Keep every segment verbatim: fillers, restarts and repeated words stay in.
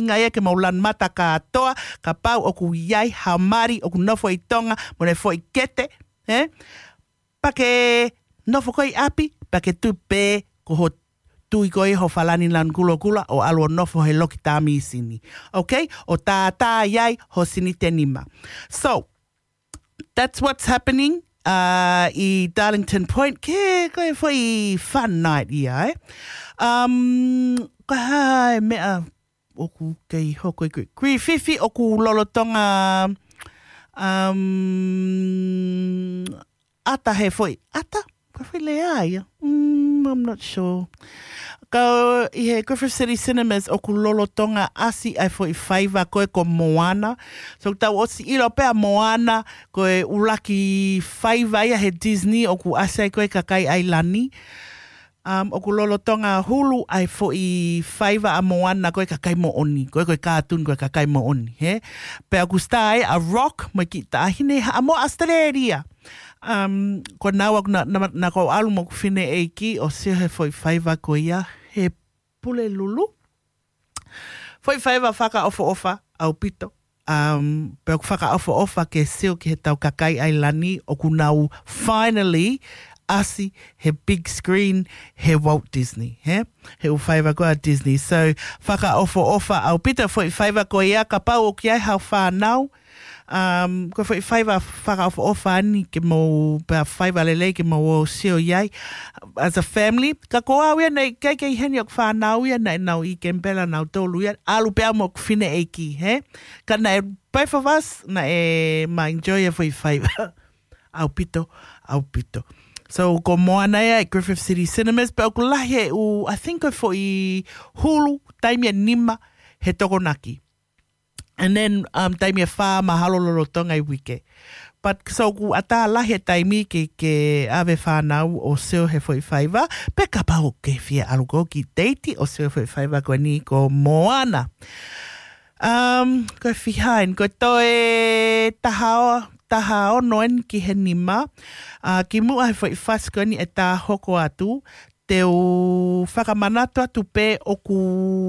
ʻuhinga ia ke mou lanu mata kātoa, kapau ʻoku ʻi ai ha mali ʻoku nofo ʻi Tonga, mo ʻene foʻi kete, ē? Pea ke nofo ko ē ʻi ʻapi, pea ke tuʻu pē ko ho tui ko ē ho falani lanu kulokula ʻo ʻalu ʻo nofo he loki tā mīsini. Okay? ʻO tātā ai ho sinite nima. So, that's what's happening uh, ʻi Darlington Point. Ke, ko e foʻi fun night ia, ē? Um, ko e hā e meʻa ʻoku kei hoko ʻi Gri-, Griffith ʻoku lolotonga, um, ʻata he foʻi, ʻata? Ko e foʻi lea ia. Mm, I'm not sure. Ka ʻi he Griffith City Cinemas ʻoku lolotonga ʻasi ai foʻi faiva ko ē ko Moana. So tau ʻosi ʻilo pē ʻa Moana, ko e ʻuluaki faiva ia he Disney ʻoku ʻasi ai ko ē kakai ʻAilani. Um, ʻoku lolotonga hulu ai foʻi faiva ʻa Moana ko e kakai moʻoni, ko e, ko e kātuni ko e kakai moʻoni, hē? Pea ʻoku star ai ʻa Rock, mo e kiʻi taʻahine haʻamo Australia. Um, ko naua ʻoku na, na, na ko ʻalu mo ʻeku fineʻeiki ʻo sio he foʻi faiva ko ia, he Pulelulu. Foʻi faiva fakaʻofoʻofa ʻaupito. Um, pea ʻoku fakaʻofoʻofa ke sio ki he tau kakai ʻAilani ʻoku nau finally ʻasi he big screen he Walt Disney, hē? He ʻū faiva ko ē ʻa Disney. So, fakaʻofoʻofa ʻaupito foʻi faiva ko ia, kapau ʻoku ʻi ai hao fānau, um, ko e foʻi faiva fakaʻofoʻofa eni ke mou, pea faiva lelei ke mou ō ʻo sio ʻi ai as a family. Ka ko au ia naʻe ʻikai ke ʻi heni ʻeku fānau ia, naʻe nau ʻi Kemipela nautolu ia, ʻalu pē au mo ʻeku fineʻeiki, hē? Ka naʻe both of us, naʻe ma enjoy e foʻi faiva. ʻAupito, ʻaupito. So, ko Moana ia ʻi Griffith City Cinemas, pea ʻoku lahi e ʻū, I think ko e foʻi hulu, taimi ʻe nima he Tokonaki. And then, um, taimi ʻe fā mahalo lolotonga e uike. But so ʻoku ʻatā lahi e taimi ke, ke ʻave fānau ʻo sio he foʻi faiva, pe kapau ʻoku ke fie ʻalu koe ki Tahiti ʻo sio he foʻi faiva ko eni ko Moana. Um, ko e fiha eni, ko e toe taha o, taha ono eni ki he nima. Uh, kimuʻa he foʻi fasi ko eni ʻe tā hoko atu, te u fakamanatu atu pē ʻoku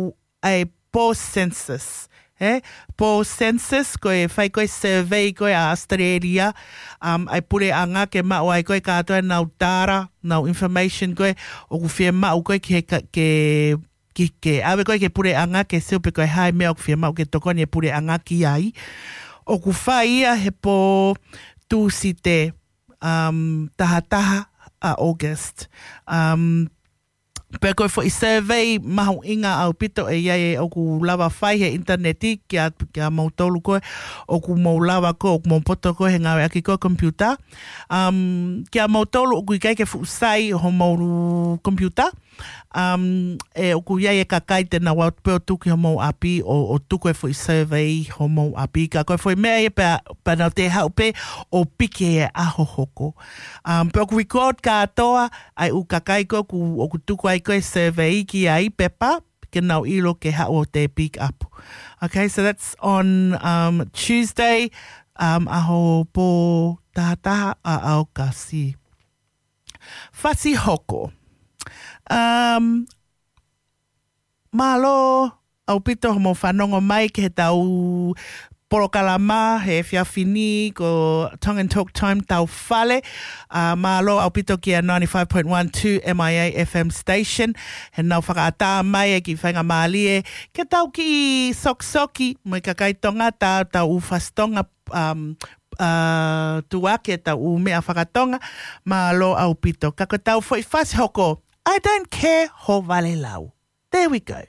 ʻi ai e pō census, hē? Pō census, ko e fai ko ē survey ko ē ʻa Australia, um, ʻa e puleʻanga ke maʻu ai ko ē kātoa ʻenau data, ʻenau information ko ē ʻoku fiemaʻu ko ē ki he ka-, ke, ki, ke ʻave ko ē ki he puleʻanga ke sio pe ko e hā e meʻa ʻoku fiemaʻu ke tokoni e puleʻanga ki ai. ʻOku fai ia he pō Tūsite, um, taha taha ʻa August. Um, Pea ko e foʻi survey mahuʻinga ʻaupito ʻe ʻi ai ʻoku lava fai he ʻinitaneti kia, kia moutolu ko ē ʻoku mou lava ko ē, ʻoku mou poto ko ē he ngāueʻaki ko ē computer. Um, kia moutolu ʻoku ʻikai ke fuʻu sai homou computer. Um, ʻe ʻoku ʻi ai e kakai te nau ō pē ʻo tuku homou ʻapi ʻo, ʻo tuku e foʻi survey homou ʻapi. Ka ko e foʻi meʻa ia pea, pea nau te haʻu pē ʻo piki e ʻaho hoko. Um, pea ʻoku record kātoa ʻa e ʻū kakai ko ē ʻoku, ʻoku tuku ai ko ē survey ki ai pepa, ke nau ʻilo ke haʻu ʻo te pick up. Okay, so that's on, um, Tuesday, um, ʻaho pō taha taha ʻa ʻAokasi. Fasi hoko. Um, Mālō ʻaupito hoʻomou fanongo mai ki heʻetau polokalama he efiafi ni ko Tongan Talk Time Tau Fale. Uh, mālō ʻaupito kia ninety-five point one two M I A F M station. Heʻenau fakaʻatā mai e kiʻi faingamālie ke tau kiʻi sokisoki mo e kakai Tonga, tau, tau ʻū fasi Tonga, um, uh, tuʻuaki ʻetau ʻū meʻa fakatonga. Mālō ʻaupito. Ka ko ʻetau foʻi fasi hoko. I don't care ho valelau. There we go.